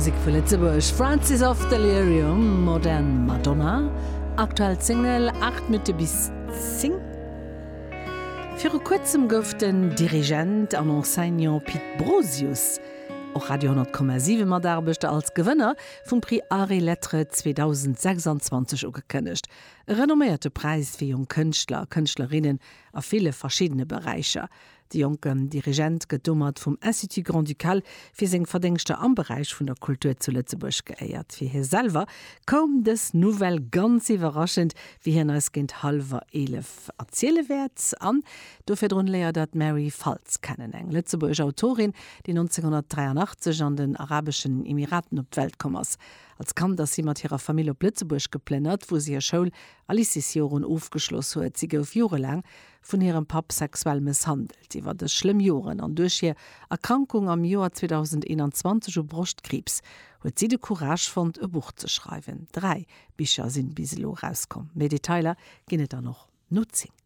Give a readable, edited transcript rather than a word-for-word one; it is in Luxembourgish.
Musek vu Lëtzebuerg, Francis of Delirium, Modern Madonna, aktuell Single, 8 Minutte bis 10. Viru kuerzem gouf den Dirigent an Enseignant Pit Brosius, och Radio 10,7 Mataarbechter, als Gewënner vum Prix Arts et Lettres 2026 ugekënnegt. E renomméierte Präis fir jonk Kënschtler a Kënschtlerinnen a ville verschiddene Beräicher. De jonken Dirigent gëtt domat vum Institut Grand-Ducal fir seng Verdéngschter am Beräich vun der Kultur zu Lëtzebuerg geéiert. Fir hie selwer koum dës Nouvelle ganz iwwerraschend, wéi hien eis géint hallwer 11 erziele wäert. An do virdrun léiert der d'Mary Faltz kennen, eng lëtzebuergesch Autorin, déi 1983 an den Arabeschen Emiraten op d'Welt komm ass. Als Kand ass si mat hirer Famill op Lëtzebuerg geplënnert, wou si hir Schoul a Lycéesjoren ofgeschloss huet. Si gouf jorelaang vun hirem Papp sexuell mësshandelt. Iwwer dës schlëmm Joren an duerch hir Erkrankung am Joer 2021 u Broschtkriibs huet si de Courage fonnt, e Buch ze schreiwen. 3 Bicher sinn bis elo erauskomm. Méi Detailer ginn et dann och no 10.